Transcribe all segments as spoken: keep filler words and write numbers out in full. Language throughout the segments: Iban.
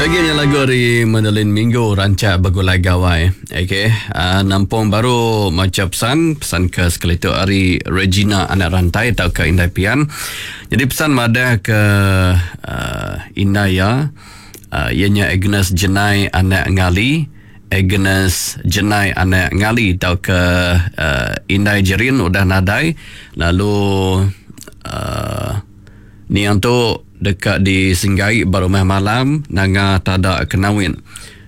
Agi nya lagu ari Madeline Minggu rancak begulai gawai. Okey, uh, nampung baru macha pesan, pesan ke sekali tu ari Regina anak rantai tauka Indai Pian. Jadi pesan madah ke uh, indai iya, uh, iya nya Agnes Jenai anak Ngali, Agnes Jenai anak Ngali tauka uh, Indai Jerin udah nadai lalu uh, niang tu deka disenggai ba rumah malam nanga tada Kenawin.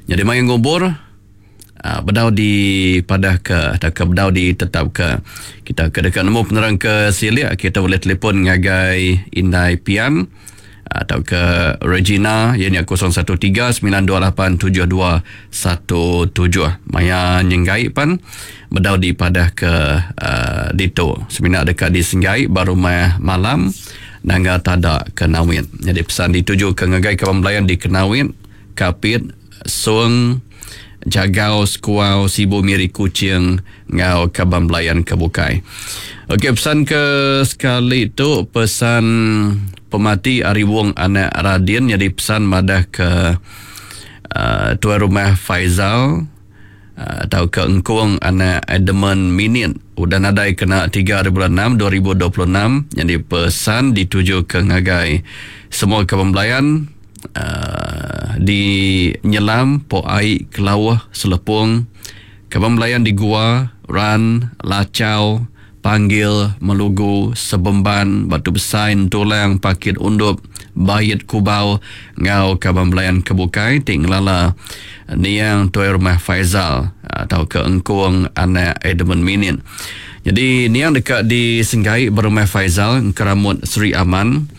Jadi maya ngubur uh, bedau dipadah ke atau ke bedau ditetap ke. Kita ke deka nemu penerang ke silik, kita boleh telefon ngagai Indai Pian atau ke Regina ianya kosong satu tiga sembilan dua lapan tujuh dua satu tujuh. Maya nyenggai pan bedau dipadah ke uh, ditu. Semina deka disenggai ba rumah malam nangga tada Kenawit. Jadi pesan dituju ke ngagai kaban belayan di Kenawit, Kapit, Song, Jagau, Sekuau, Sibu, Miri, Kuching ngau kaban belayan ke bukai. Okey, pesan ke sekali tu pesan pemati ari Wong anak Radin. Jadi pesan madah ke uh, tuan rumah Faizal uh, atau ke Engkung anak Edmund Minit udah nadai kena tiga hari bulan enam dua ribu dua puluh enam. Jadi pesan dituju ke ngagai semua kaban belayan uh, di Nyelam, Pok Ai, Kelauh, Selepung, kaban belayan di Gua, Ran, Lacau, Panggil, Melugu, Sebemban, Batu Besai, Tulang, Pakit Undup, Bayit Kubau, ngau kaban belayan kebukai ti ngelala niang tuai rumah Faizal atau ke Engkung anak Edmund Minin. Jadi niang dekat di Senggai berumah Faizal Keramut Seri Aman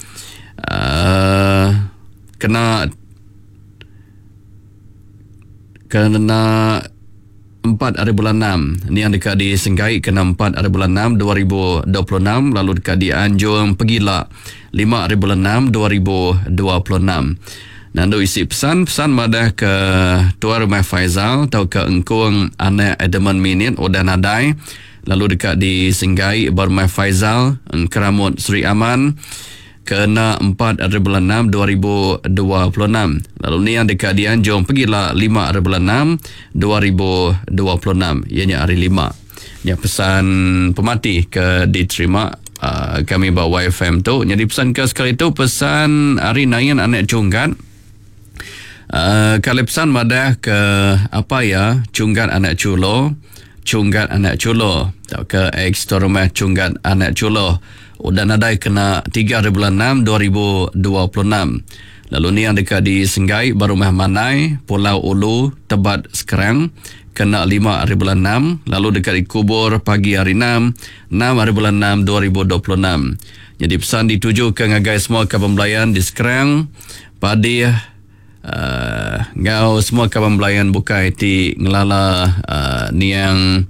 uh, kena kena empat hari bulan enam. Niang dekat di Senggai kena empat hari bulan enam dua ribu dua puluh enam, lalu dekat di Anjung Pegila lima hari bulan enam dua ribu dua puluh enam. Nandu isi pesan, pesan madah ke tuan rumah Faizal atau ke Engkung anak Edmund Minit udah nadai, lalu dekat di Senggai berumah Faizal Keramut Seri Aman kena empat hari bulan enam dua ribu dua puluh enam. Lalu ni yang dekat di Anjung Pegila lima hari bulan enam dua ribu dua puluh enam, ianya hari lima. Nya pesan pemati ke diterima uh, kami ba Y F M tu. Jadi pesan ke sekali tu pesan hari Nain anak Cunggat. Uh, kali pesan madah ke apa ya Cunggat anak Chulo, Cunggat anak Chulo atau ke ex rumah Cunggat anak Chulo udah nadai kena tiga hari bulan enam dua ribu dua puluh enam. Lalu ni yang dekat di Senggai Barumah Manai Pulau Ulu Tebat Sekerang kena lima hari bulan enam, lalu dekat dikubur pagi hari enam, enam hari bulan enam dua ribu dua puluh enam. Jadi pesan dituju ke ngagai semua kaban belayan di Sekerang, Padih, uh, ngau semua kaban belayan bukai ti ngelala uh, niang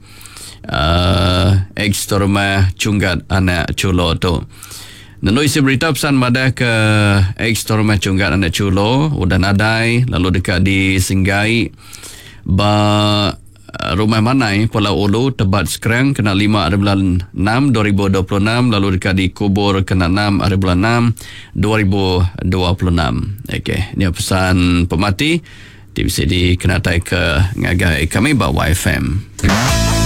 uh, ex rumah Cunggat anak Chulo tu. Nenui isi berita pesan madah ke ex rumah Cunggat anak Chulo udah nadai, lalu dekat di Senggai ba rumah Manai Pulau Ulu Tebat Sekerang kena lima hari bulan enam dua ribu dua puluh enam, lalu dekat dikubur kena enam hari bulan enam dua ribu dua puluh enam. Okey, ni pesan pemati ti bisa dikenatai ke ngagai kami ba Y F M.